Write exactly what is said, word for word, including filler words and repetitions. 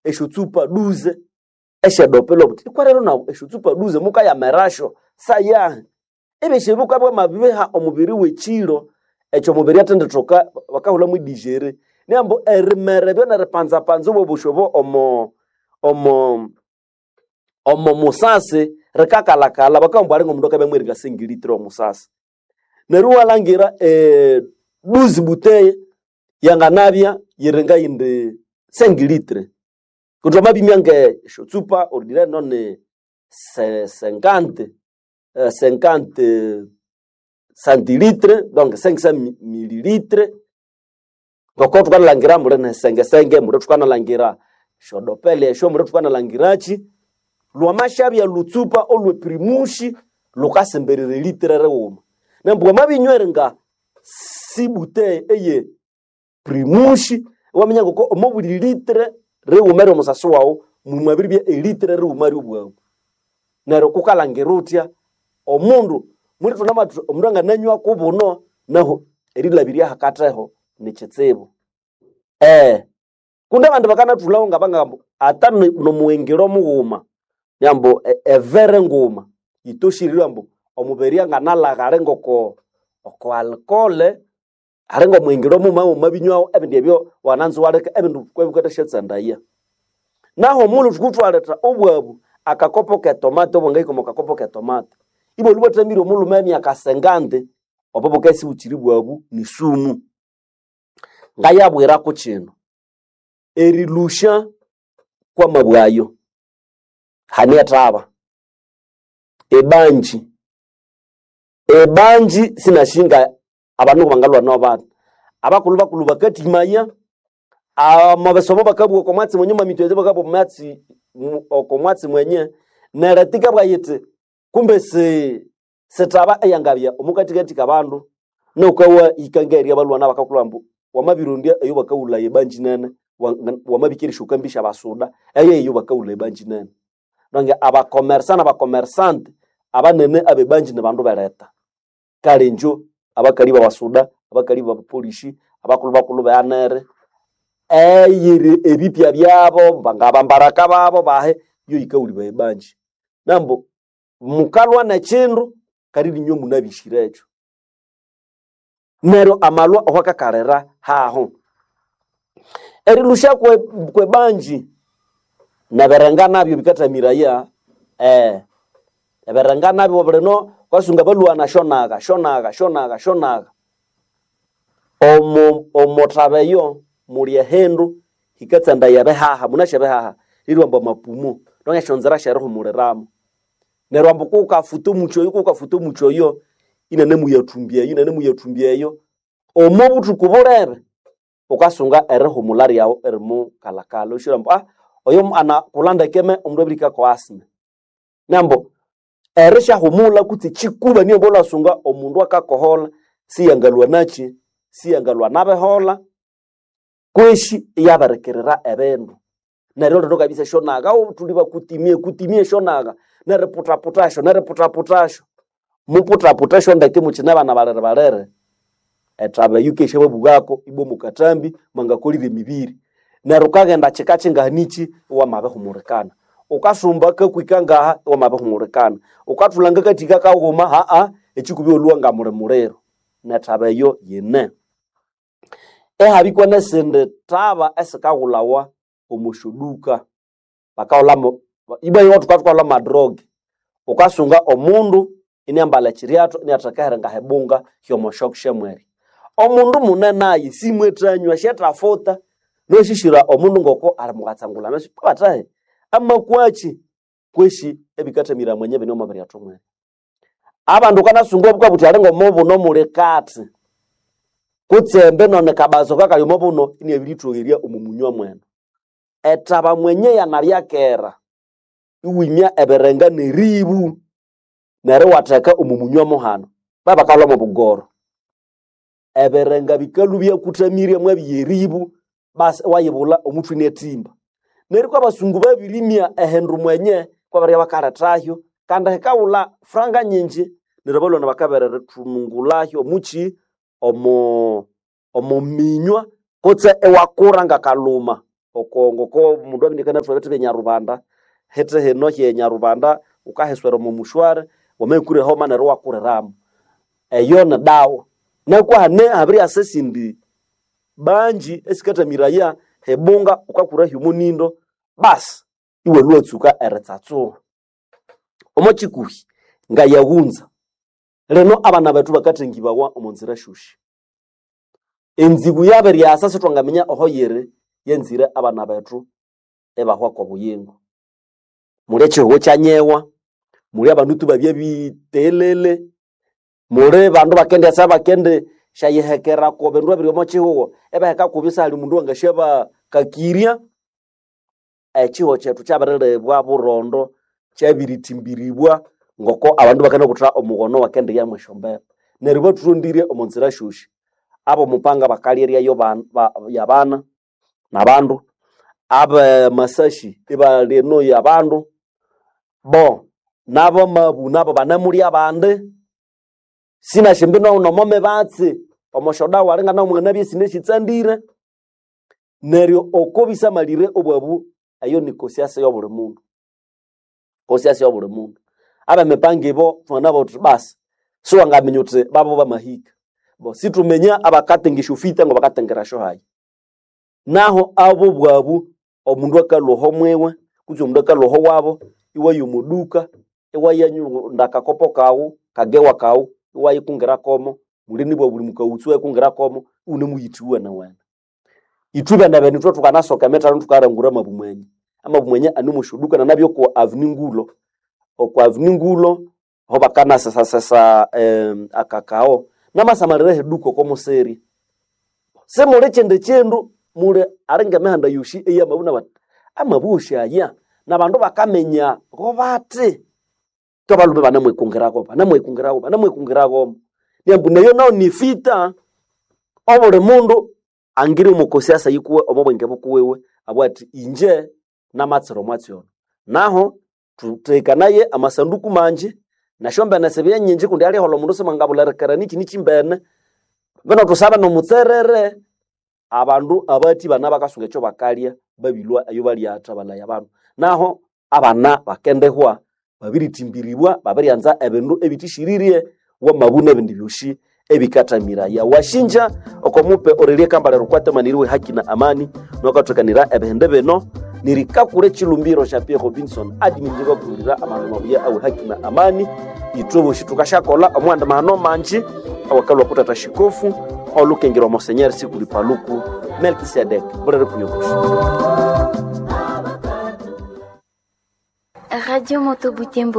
Esyotsupa duze esyedopelo buti ikwa rero nawu esyotsupa duze mukayamerasyo sayahi. Ebyosi ebi bukabya bwamabiha omubiri w'ekiro ekyo omubiri athendithoka bakahulhamu edigere. Niyambu erimera ebyo neripanzapanza obwobusi obo omo omo omo musasi rikakalhakalha bakabugha ambu ali ng'omundu akabya mweringa sengilitira omusasi. Neryo iwalhangira eduzi buteye yanganabya yiri ngayindi sengilitire. Kundi wamabimya nge esyotsupa ordinaire noni se sengante sengante santilitre donc cinq cent mililitre ngoko thukanalhangira muli nesengesenge, muli thukanalhangira esyodopele esyo, muli thukanalhangirachi, lwamasyabya lutsupa olwe primushi lukasemberera elitire righuma. Neryo wamabinywera eringa sibuteye eye primushi iwaminya ngoko omo buli litre righuma eryomusasi waghu mwamabiribya elitire righuma ryobwabu. Neryo ghukalhangira wuthya omundu mulithunamathi omundu angananywa kubuno nahu erilhabirya hakatheho nikitsibu. Eh, kundi abandi bakanathulhaho ngabangamba ata nomughengero mughuma ambu evere nguma yitoshire ambu omubiri anganalhagha ali ngoko oko alcohol ali ng'omughengero mughuma wamabinywaho ebindi ebyo wananza iwaleka ebindi bikabya Naho omughulhu thukuthwaletha obwabu akakopo k'etomate obwangahika omo kakopo k'etomate ibwalhwa ibwathamire omulhume emyaka sengandi obo bukabya isibukyiri bwabu ni sumu. Ngayabwirako kino, erilhusya kwamabwe ayo hane ethaba, ebanji, ebanji sinashinga abandu bangalhwa bathi. Abakulhu bakulhu bakathimaya, amasomo bakabugha oko mwatsi mwenye omwamitwe bakabugha omwatsi oko mwatsi mwenye neryo etikabugha yithi kumbe si sithaba eyangabya omukathikathi kabandu nukawa hika ngeri abalhwana bakakulhwa ambu wamabirondya eyo bakahulhaya ebanji nene wamabikira esyokambisya syabasuda eyo eyo bakahulhaya ebanji nene. Nange abakomersa nabakomersante abanene abebanji nibandu beletha. Kale ingyo abakali babasuda, abakali babapolisi, abakulhu bakulhu be anere eyiri ebipya byabo ngabambaraka babo bahi iyo yikahulibaya ebanji. Nambu mukalhwa nekindu kali ninywe munabihyirekyo. Neryo amalhwa awakakalira haho. Erilhusya kwe kwebanji nebirenga nabyo bikathamiraya eh ebirenga nabyo bulino wukasunga abalhwana syonaga syonaga syonaga syonaga. Omu omuthaba eyo muli ehindu hikatsandaya ebihaha munasi ebihaha lirwa ambu amapumo donc esyonzira syerihumuliramu. Neryo ambu kuwukafuta omuchi oyo kuwukafuta omuchi oyo inanemuyathumbya eyo inanemuyathumbya eyo omo buthuku bulebe wukasunga erihumulha lyaghu erimukalhakalha iwashira ambu ah oyo anakulha ndeke omundu abirihika kwa asthma. Nambu erisyahumulha kutse ekikuba niyo ambu omundu akakoholha siyangalhwa nakyi siyangalhwa nabiholha kweshi iyabirikirira ebindu. Neryo lino kabisa esyonaga thuli bakutimie kutimie esyonaga neriputhaputhasyo neriputhaputhasyo. Muputhaputhasyo ndeke mukyine bana balere balere ethaba eyo yikesyababughako ibwa omwakathambi mwangakolire emibiri. Neryo wukaghenda kyika kyinganikyi iwamabihumulikana. Wukasumba kakwika ngaha iwamabihumulikana. Wukathulha ngakathika kaghuma ha'a ekikubi iwalhwa ngamuli muliro. Nethaba eyo yine. Ihabikwa nesindi thaba esikaghulhawa omo syoduka bakahulhamu ibwa iwethu thukahulha amadroge. Wukasunga omundu iniambalha ekyiryathu iniatheka eheringa hebunga hyomo syokusyamweri. Omundu munene ayi simwethanywa syethafuta nosyishira omundu ngoko ali mukatsangulha ameso bathahi amakwakyi kweshi ebikathamira mwenye bine omwa mwene. Abandu wukanasunga bukabugha buthi ali ng'omubuno muli kathi kutse none kabazo kakali omo buno iniabirithowerya omo munywa mwene. Ethaba mwenye yanabya kera iwimya ebirenga neribu neryo iwatheka omo munywa muhano babakahulha mwobugoro. Ebirenga bikalhwa ibyakuthamirye mwabya eribu basi iwayibulha omuthwe iniathimba. Neryo kwabasungu babirimya ehindu mwenye kwabiribya bakalethahyo kandi hikaghulha franga nyingi neryo abalhwana bakabiririthunungulhahyo omukyi omo omo minywa kutse iwakura ngakalhuma. Oko ngoko mundu abindikana thwabethe benyarubanda hete hino hye nyarubanda ukaheswera omo mushware wamekure homa neryo wakuriramu eyo ni dawa nakwahane habiri asa esindi banji esikathamiraya hebunga ukakura hyomunindo basi iwalwa watsuka eritsatsuha omo kikuhi ngayaghunza lino abana bethu bakathengibawa omo nzira syosi enzibu yabiryasa sithwangaminya oho yiri yenzire abana bethu ebahwa kwobuyingo muli ekihugho kyanyewa muli abandu tu babye bitelele muli bandu bakendyasa bakendi syayihekera ko bindu ebiri omo kihugho ebaheka kubyo sihali mundu wangasyabakakirya ekihugho kyethu kyabirilibwa burondo kyabiritimbiribwa ngoko abandu bakanabutha omughono wakendiyamu esyombeba neryo bathurondire omo nzira syosi abomupanga bakalyeryayo yabana nabandu abamasashi ibalya enoyo abandu bo nabamabu nabo banamulya abandi sinasyimbi nomo mibatsi omosyodawa alinga mwanabya esinasitsandire neryo oko bisamalire obwabu eyo ni kosiasa yobuli mundu kosiasa yobuli mundu abemipanga ibo thwanganabugha thuthi basi siwangaminya uthi babo bamahika bo situminya abakatenga esyofita ngabakatengera syohayi naho abo bwabu omundu akalhwa oho mwiwe kutse omundu akalhwa oho wabo iwaya omuduka iwayanyunda akakopo kawu kagewa kawu iwayikungira komo muli nibwa buli mukaghutsu iwayikungira komo iwunemuyitha iwenewene ithwe bene ithwe thukanasoka emithano thukalangura amabu mwenye amabu mwenye ane omwa nanabya oko avenue Ngulo oko avenue Ngulo aho bakanasesasesa eh, akakao namasamalira ehiduka oko musiri simuli kyindi kyindu muli alinga emihanda yosi eyamabu nabati amabu osi aya nabandu bakaminya go bati twabalhume banamwikungirako banamwikungirako banamwikungirako niambu neyo nayo ni fita obuli mundu angiri omukosiasa yikuwe omo bwenge bukuwiwe abugha athi inje namatsira omwatsi ono naho thuthekanaye amasanduku manji nasyombene sibye nyinji kundi aliholha omundu simwangabulirikira niki nikimbene bino thusabe nomutserere abandu abathi bana bakasunga ekyo bakalya babilwa eyo balyatha balaya abandu naho abana bakendihwa babiritimbiribwa babiryanza ebindu ebithishiririe wamabu nebindi byosi ebikathamiraya washinja oko mupe orelie kambale rukwatemaniriwe haki na amani nokathokanira ebihende bino nirikakura echilumbiro sya Pierre Robinson adiminjikakulira amandu mabuya awe haki na amani ithwe bosi thukasyakolha omughanda mahano manji awakalwa kutata shikofu olukengerwa Monseigneur Sikuli Paluku Melkisedek bulere kuyokushi Radio Moto Butembo.